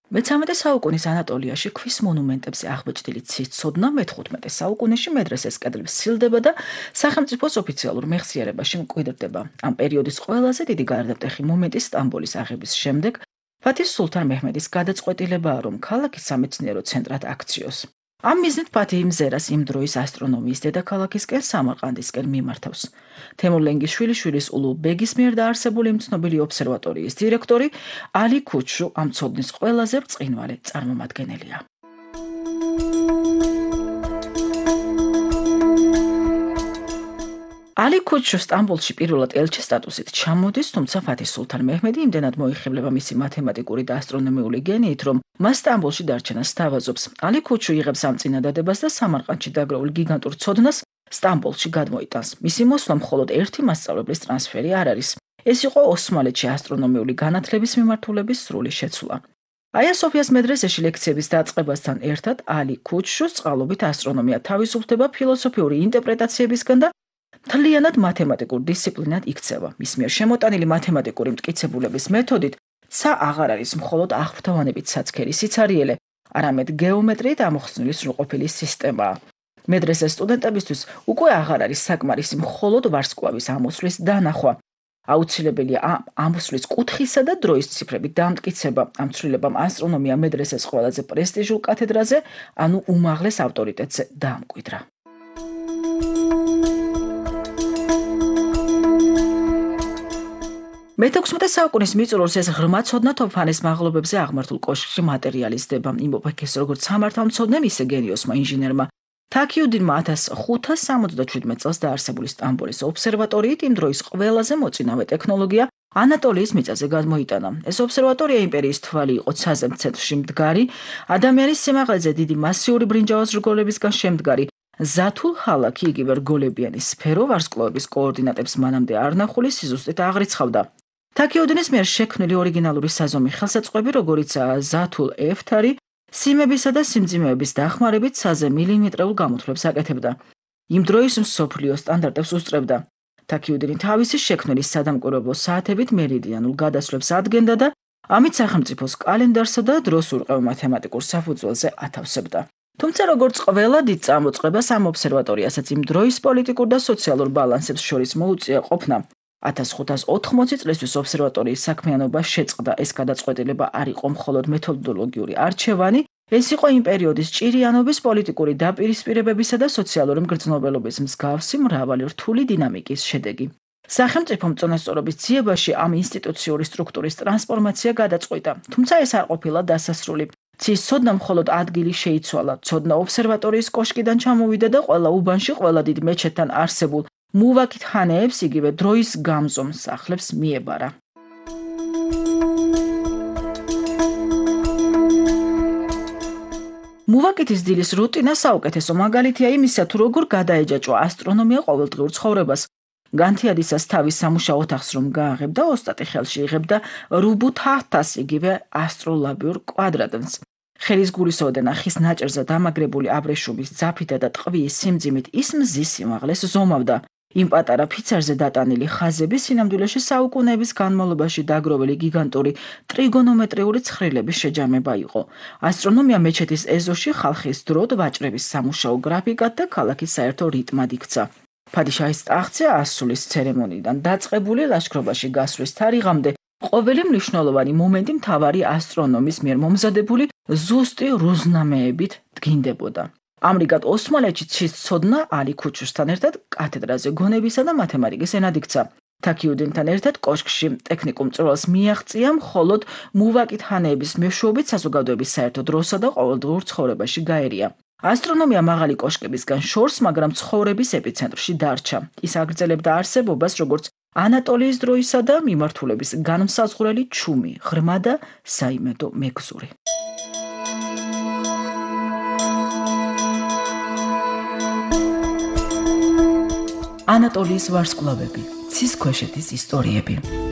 მე-13 საუკუნის ანატოლიაში ქვის მონუმენტებზე აღბეჭდილი ცის ცოდნა მე-15 საუკუნეში მედრესეს კედლებს სცილდება და სახელმწიფოს ოფიციალურ მეხსიერებაში მკვიდრდება. ამ პერიოდის ყველაზე დიდი გარდამტეხი მომენტი სტამბოლის აღების შემდეგ ფათის სულთან მეჰმედის გადაწყვეტილებაა, რომ ქალაქი სამეცნიერო ცენტრად აქციოს. ამ მიზნით ფათი მზერას იმ დროის ასტრონომიის დედაქალაქისკენ სამარყანდისკენ მიმართავს. თემურლენგის შვილიშვილის ულუ ბეგის მიერ დაარსებული იმ ცნობილი ობსერვატორიის დირექტორი ალი ქუჩუ ამ ცოდნის ყველაზე ბრწყინვალე წარმომადგენელია. ალი ქუჩუ სტამბოლში პირველად ელჩის სტატუსით ჩამოდის, თუმცა ფათის სულთან მეჰმედი იმდენად მოიხიბლება მისი მათემატიკური და ასტრონომიული გენიით, რომ მას სტამბოლში დარჩენა სთავაზობს. ალი ქუჩუ იღებს ამ წინადადებას და სამარყანდში დაგროვილ გიგანტურ ცოდნას სტამბოლში გადმოიტანს. მისი მოსვლა მხოლოდ ერთი მასწავლებლის ტრანსფერი არ არის. ეს იყო ოსმალეთში ასტრონომიული განათლების მიმართულების სრული შეცვლა. აია სოფიას მედრესეში ლექციების დაწყებასთან ერთად ალი ქუჩუს წყალობით ასტრონომია თავისუფლდება ფილოსოფიური ინტერპრეტაციებისგან და მთლიანად მათემატიკურ დისციპლინად იქცევა. მის მიერ შემოტანილი მათემატიკური მტკიცებულების მეთოდით ცა აღარ არის მხოლოდ აღფრთოვანებით ცაცქერი სიცარიელე, არამედ გეომეტრიით ამოხსნილი სრულყოფილი სისტემაა. მედრესეს სტუდენტებისთვის უკვე აღარ არის საკმარისი მხოლოდ ვარსკვლავის ამოსვლის დანახვა. აუცილებელია ამ ამოსვლის კუთხისა და დროის ციფრებით დამტკიცება. ამ ცვლილებამ ასტრონომია მედრესეს ყველაზე პრესტიჟულ კათედრაზე, ანუ უმაღლეს ავტორიტეტზე დაამკვიდრა. მე-16 საუკუნის მიწურულს ეს ღრმა ცოდნა თოფანის მაღლობებზე აღმართულ კოშკში მატერიალიზდება. იმ ეპოქის როგორც სამართალმცოდნემ, ისე გენიოსმა ინჟინერმა თაქიუდინმა 1577 წელს დაარსებული სტამბოლის ობსერვატორიით იმ დროის ყველაზე მოწინავე ტექნოლოგია ანატოლიის მიწაზე გადმოიტანა. ეს ობსერვატორია იმპერიის თვალი იყო ცაზემ ცენტრში მდგარი, ადამიანის სიმაღლეზე დიდი მასიური ბრინჯაოს რგოლებისგან შემდგარი ზათულ ჰალაქი, იგივე რგოლებიანი სფერო ვარსკვლავების კოორდინატებს მანამდე არნახული სიზუსტით აღრიცხავდა. თაქიუდინის მიერ შექმნილი ორიგინალური საზომი ხელსაწყოები, როგორიცაა ზათულ ეფთარი, სიმებისა და სიმძიმეების დახმარებით საზე მილიმეტრეულ გამოთვლებს აკეთებდა. იმ დროის მსოფლიო სტანდარტებს უსწრებდა. თაქიუდინი თავისი შექმნილი სადამკვირვებლო საათებით მერიდიანულ გადასვლებს ადგენდა და ამით სახელმწიფოს კალენდარსა და დროს ურყევ მათემატიკურ საფუძველზე ათავსებდა. თუმცა როგორც ყველა დიდ წამოწყებას ამ ობსერვატორიასაც იმ დროის პოლიტიკურ და სოციალურ ბალანსებს შორის მოუწია ყოფნა. 1580 წლისთვის ობსერვატორიის საქმიანობა შეწყდა. ეს გადაწყვეტილება არ იყო მხოლოდ მეთოდოლოგიური არჩევანი, ეს იყო იმ პერიოდის ჭირიანობის პოლიტიკური დაპირისპირებებისა და სოციალური მგრძნობელობის მსგავსი მრავალი რთული დინამიკის შედეგი. სახელმწიფო მწონასწორობის ძიებაში ამ ინსტიტუციური სტრუქტურის ტრანსფორმაცია გადაწყვიტა, თუმცა ეს არ ყოფილა დასასრული. ცის ცოდნა მხოლოდ ადგილი შეიცვალა. ცოდნა ობსერვატორიის კოშკიდან ჩამოვიდა და ყველა უბანში, ყველა დიდ მეჩეთთან არსებულ მუვაკით ხანეებს, იგივე დროის გამზომ სახლებს მიებარა. მუვაკითის დილის რუტინა საუკეთესო მაგალითია იმისა, თუ როგორ გადაეჯაჭვა ასტრონომია ყოველდღიურ ცხოვრებას. განთიადისას თავის სამუშაო ოთახს რომ გააღებდა, ოსტატი ხელში იღებდა რუბუთათას, იგივე ასტროლაბიურ კვადრატს. ხელის გულისოდენ ხის ნაჭერზე დამაგრებული აბრეშუმის ძაფითა და ტყვის სიმძიმით ის მზის სიმაღლეს ზომავდა. იმ პატარა ფიცარზე დატანილი ხაზები სინამდვილეში საუკუნეების განმავლობაში დაგროვილი გიგანტური ტრიგონომეტრიული ცხრილების შეჯამება იყო. ასტრონომია მეჩეთის ეზოში ხალხის დროდ ვაჭრების სამუშაო გრაფიკად და ქალაქის საერთო რიტმად იქცა. ფადიშაჰის ტახტზე ასვლის ცერემონიიდან დაწყებული ლაშქრობაში გასვლის თარიღამდე ყოველი მნიშვნელოვანი მომენტი მთავარი ასტრონომის მიერ მომზადებული ზუსტი რუზნამეებით დგინდებოდა. ამრიგად ოსმალეთში ცის ცოდნა ალი ქუჩუსთან ერთად კათედრაზე გონებისა და მათემატიკის ენად იქცა. თაქიუდინთან ერთად კოშკში ტექნიკურ მწვრთნელს მიაღწია მხოლოდ მუვაკით ხანეების მეშვეობით საზოგადოების საერთო დროსა და ყოველდღიურ ცხოვრებაში გაერია. ასტრონომია მაღალი კოშკებისგან შორს, მაგრამ ცხოვრების ეპიცენტრში დარჩა. ის აგრძელებდა არსებობას როგორც ანატოლიის დროისა და მიმართულების განმსაზღვრელი ჩუმი, ღრმა და საიმედო მეგზური. ანატოლიის ვარსკვლავები, ცის ქვეშეთის ისტორიები.